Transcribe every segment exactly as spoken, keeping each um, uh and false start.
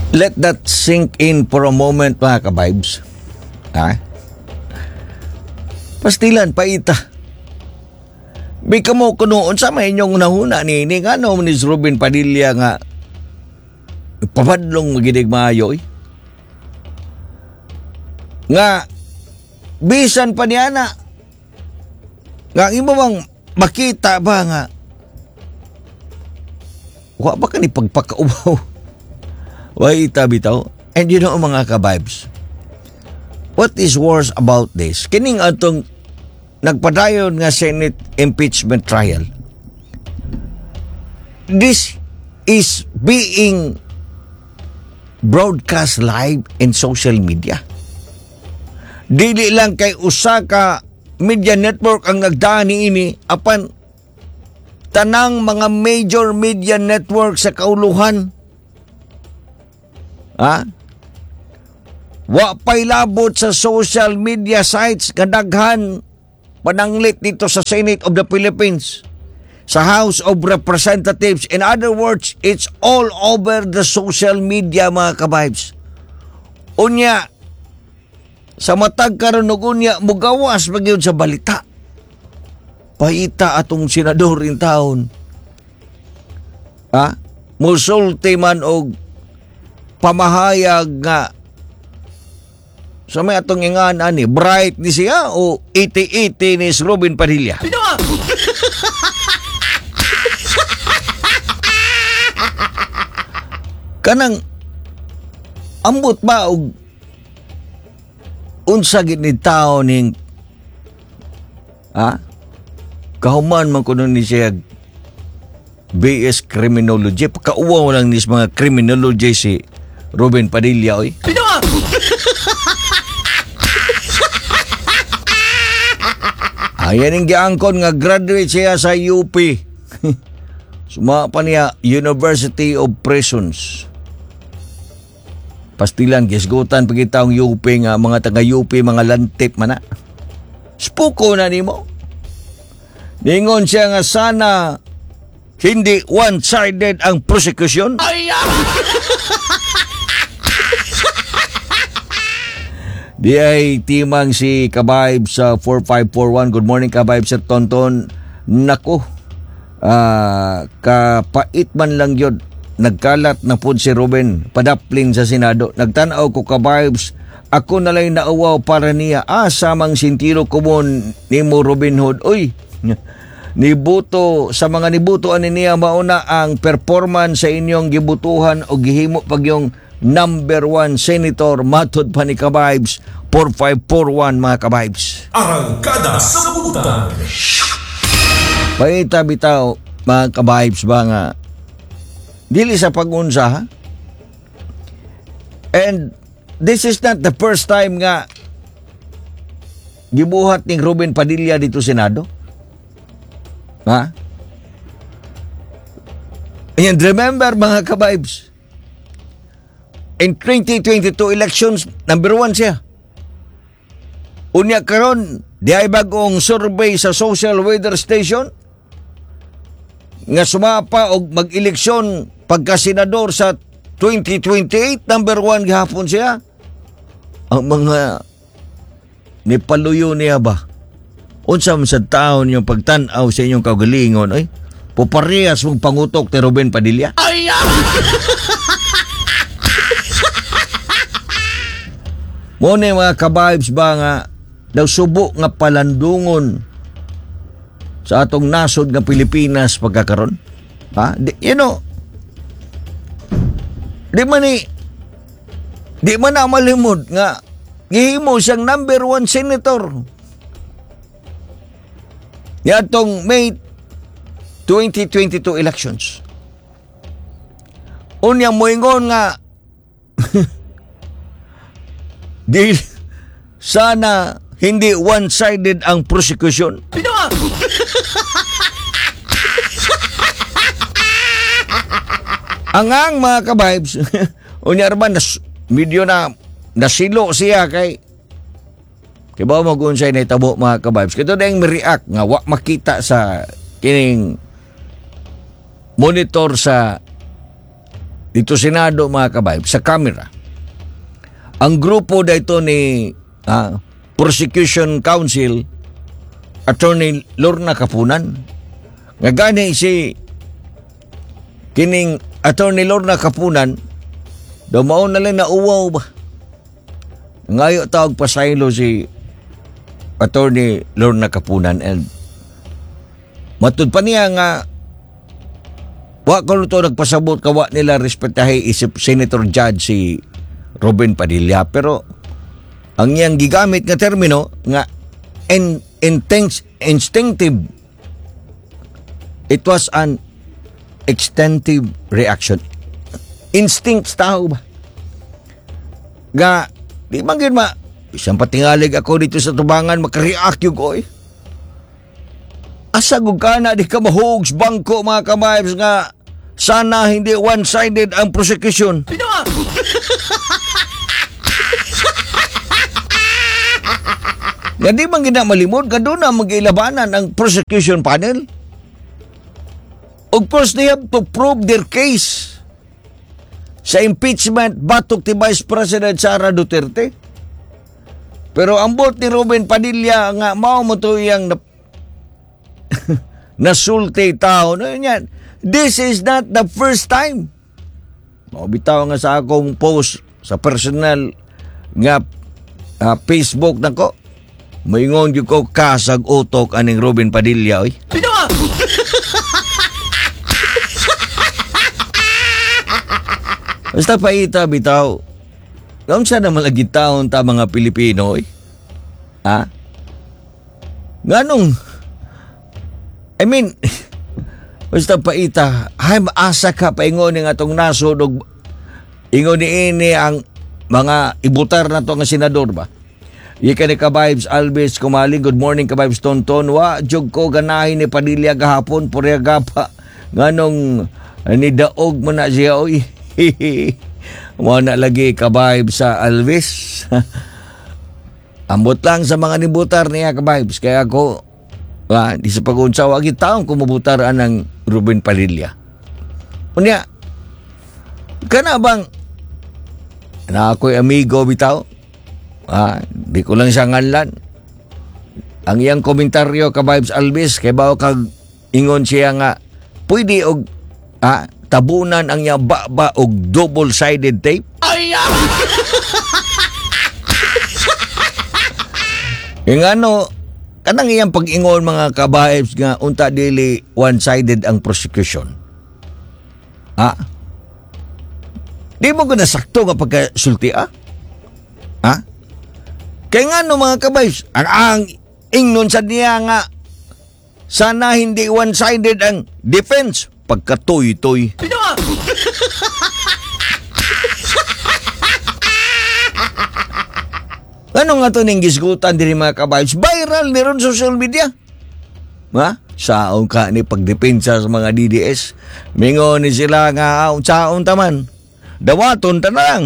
Let that sink in for a moment, mga ka-vibes. Ha? Pastilan, paita. Bi kamo kuno unsa may inyong nahuna ni ni ngano ni Robin Padilla nga pabadlong magidig maayo eh. Nga bisan pa niya na nga ang imo bang makita ba nga wa ba ka ni pagpakaubaw? Why bitaw? And you know, mga ka-vibes, what is worse about this? Kining atong nagpadayon nga Senate impeachment trial. This is being broadcast live in social media. Dili lang kay usa ka media network ang nagdaan niini, apan tanang mga major media network sa kauluhan. Ha? Wa pa'y labot sa social media sites kadaghan pananglit dito sa Senate of the Philippines, sa House of Representatives. In other words, it's all over the social media, mga ka-vibes. Unya, sa matag karon ug unya mugawas pa gyud sa balita. Paita atong senador in town. Ha? Musulti man og pamahayag nga sa may atong ingan ani, bright ni siya o iti-iti ni Robin Padilla. Kanang ambot ba og unsa gid ni tao ning, ha, kahuman man kuno ni siya B S Criminology? Pagkauwaw lang ni sa mga criminology si Robin Padilla oy. Ayan ang giangkon nga graduate siya sa U P. Suma pa niya University of Prisons. Pastilan, gisgutan pagkita ang U P nga mga taga-U P, mga lantip man na. Spuko na nimo. Ningon siya nga sana hindi one-sided ang prosecution. Di ay timang si Kabayb sa four five four one. Good morning, Kabayb Sir Tonton. Nako, ah, kapait man lang yun. Nagkalat na po si Ruben padaplin sa Senado. Nagtanaw ko, Kabibes, ako na lang nauwaw para niya. Ah, samang sintiro ko mo nimo Robin Hood. Uy, nibuto sa mga nibuto ani niya, mauna ang performance sa inyong gibutuhan o gihimo pag yung number one senator, matod pa ni Kabibes four five four one, mga Kabibes. Arangkada sa Butang. Paita bitaw, mga kabibes ba, nga dili sa pagunsa, ha? And this is not the first time nga gibuhat ni Ruben Padilla dito Senado. Ha? And remember, mga kabibes, in twenty twenty-two elections, number one siya. Unya karon, di ay bagong survey sa social weather station nga sumapa og mag-eleksyon pagka-senador sa twenty twenty-eight, number one gihapon siya. Ang mga nipaluyo niya ba? Unsa man sa taon yung pagtan-aw sa inyong kaugalingon, oy? Puparehas mong pangutok ni Ruben Padilla? Ay! Mo ni, mga kabibes ba, nga daw subo nga palandungon sa atong nasod nga Pilipinas pagkakaron? Ha? Di, you know, di man ni di man na malimod nga gihimo siyang number one senator niadtong May twenty twenty-two elections. Unya moingon nga di sana hindi one-sided ang prosecution. Ang ang mga kabibes, unya man nas, medyo na nasilo siya kay kay ba mo kung sa'y nahitabo, mga kabibes. Kito na yung react nga wa makita sa kining monitor sa Dito Senado, mga kabayb, sa camera. Ang grupo dito ni ah, Prosecution Counsel Attorney Lorna Kapunan. Nga gani si kining Attorney Lorna Kapunan daw mao na lang na uwaw ba. Ngayo tawag pasaylo si Attorney Lorna Kapunan and matud pa niya nga wa ko to nagpasabot kawa nila respetahe isip Senator Judge si Robin Padilla, pero ang iyang gigamit nga termino nga in, intense, instinctive, it was an instinctive reaction, instinct tao ba nga di man gyud ma isang patingalig ako dito sa tubangan, makareact yung ko eh. Asa gud ka na di ka mahugs bangko, mga kabibes, nga sana hindi one-sided ang prosecution. Nga di man gina malimod, nga doon na magilabanan ang prosecution panel. Of course, they have to prove their case sa impeachment batok ti Vice President Sara Duterte. Pero ang bot ni Robin Padilla nga mao mo to iyang na, nasulti tao. No, yun yan. This is not the first time. Mao bitaw nga sa akong post sa personal nga uh, Facebook nako. Moingon gyud ko kasag utok aning Robin Padilla oy. Basta paita bitaw. Unsa naman lagi taon ta mga Pilipino oy? Ha? Nganong I mean, basta paita, ay maasa ka paingon ng atong nasod og ingon ni ini ang mga ibutar na to nga senador ba? Ika ni Kabibes Alves Kumaling, good morning Kabibes Tonton. Wa jug ko ganahin ni Padilla gahapon, purya gapa. Nganong ni daog mo na siya oy. Mo na lagi Kabibes sa Alves. Ambot lang sa mga nibutar niya Kabibes. Kaya ako ah, di sa pag-unsa wagi taong kumubutar anang Ruben Padilla. Unya kana bang na ako'y amigo bitaw? Ah, di ko lang siya nganlan. Ang iyang komentaryo Kabibes Alvis, kay bawo kag ingon siya nga pwede og ah, tabunan ang iyang baba og double-sided tape. Ay! Yung ano, kanang iyang pag-ingon mga kabibes nga unta dili one-sided ang prosecution. Ah? Di mo ko nasakto nga pagkasulti ah? Ah? Kaya nga no mga kabibes, ang, ang ingnon sa niya nga sana hindi one-sided ang defense pagkatoy-toy. Ano nga to ning gisgutan diri mga kabibes? Viral ni ron social media. Ha? Saon ka ni pagdepensa sa mga D D S. Mingon ni sila nga saon taman. Dawaton ta na lang.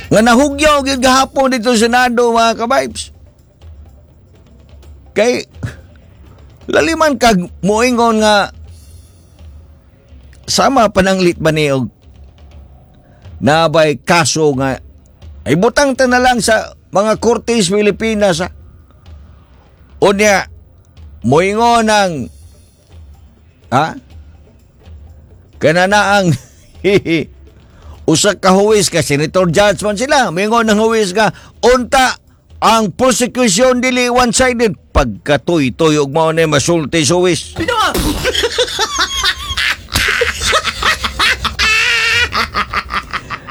Nga nahugyaw gyud gahapon dito sa Senado mga kabibes. Kay laliman kag moingon nga sama pananglit ba ni og nabay kaso nga ay butang ta na lang sa mga korte sa Pilipinas ha. Unya moingon ang ha kanana ang usa ka huwis ka senator judge man sila moingon ang huwis nga unta ang prosecution dili one-sided pagkatuy-tuy og mao na masulti sa huwis.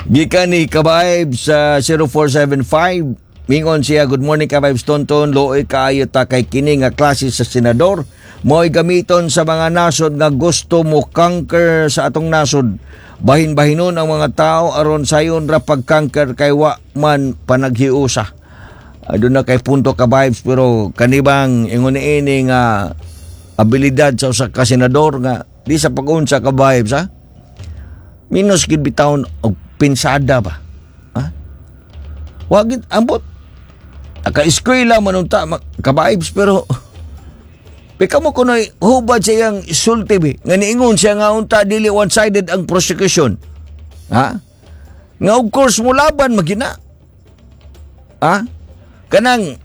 Gikan ni Kabibes sa uh, zero four seven five, mingon siya, good morning Kabibes Tonton, looy kaayo ta kay kini nga klase sa senador, mo'y gamiton sa mga nasod nga gusto mo conquer sa atong nasod. Bahin-bahinon ang mga tao aron sayon ra pag-conquer kay wa man panaghiusa. Aduna kay punto Kabibes, pero kanibang ingon niini nga abilidad sa usa ka senador nga di sa pag-unsa Kabibes ha. Minus gid bitawon og pinsada ba? Ha? Wa gid ambot. Naka-eskwela man unta Kabibes pero Pika mo kuno'y hubad sa iyang sulti bi, nga niingon siya nga unta dili one-sided ang prosecution. Ha? Nga of course mulaban magina. Ha? Kanang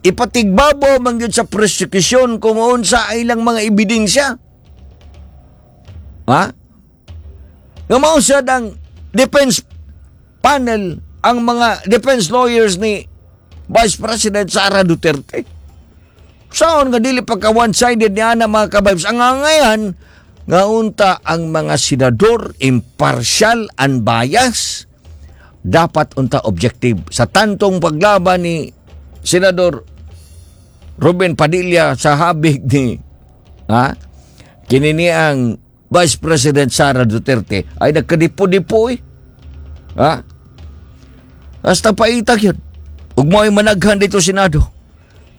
ipatigbabaw man gyud sa prosecution kung unsa ay ilang mga ebidensya. Ha? Nga mao sad ang defense panel, ang mga defense lawyers ni Vice President Sara Duterte. Saon nga dili pagka one-sided ni ana, mga kabibes? Ang angayan nga unta ang mga senador impartial and bias, dapat unta objective sa tantong paglaban ni Senador Robin Padilla sa habig ni, ha, kini ang Vice President Sara Duterte ay nagkadipo-dipo eh. Ha? Hasta paitag yun. Ug mo'y managhan dito Senado.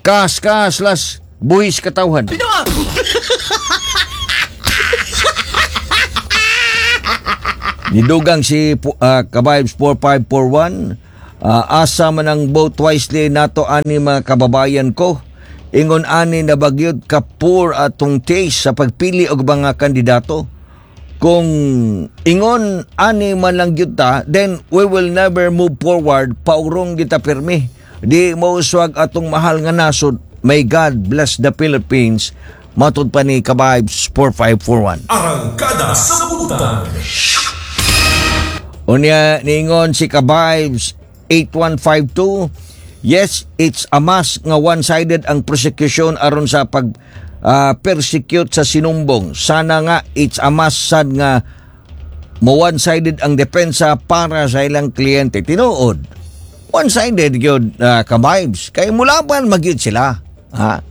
Kas, kas, las, buhis katawhan. Nidugang si uh, Kabibes four five four one, uh, asa man ang vote wisely nato ani, mga kababayan ko. Ingon ani na bagyod ka poor atong taste sa pagpili og mga kandidato. Kung ingon ani man lang gyud ta, then we will never move forward, paurong kita pirmi. Di mauswag atong mahal nga nasod. May God bless the Philippines. Matud pa ni Kabibes four five four one. Arangkada sa Buntag. Unya niingon si Kabibes eight one five two, yes, it's a must nga one-sided ang prosecution aron sa pag ah, persecute sa sinumbong. Sana nga it's a must sad nga mo one-sided ang depensa para sa ilang kliyente. Tinuod. One-sided gyud, uh, Kabibes. Kay mulaban magyud sila. Ha?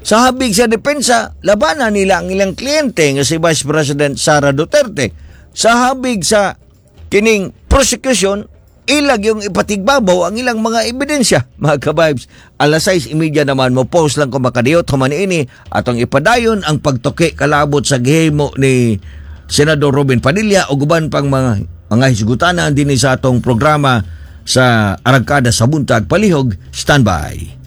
Sa habig sa depensa, labanan nila ang ilang kliyente nga si Vice President Sara Duterte. Sa habig sa kining prosecution, ilag yung ipatigbabaw ang ilang mga ebidensya. Mga kabibes, alas sais trenta naman mo post lang ko makadiyot human ini atong ipadayon ang pagtuki kalabot sa gihimo ni Senador Robin Padilla o guban pang mga mga hisgutanan dinhi sa atong programa sa Arangkada sa Buntag. Palihog, standby.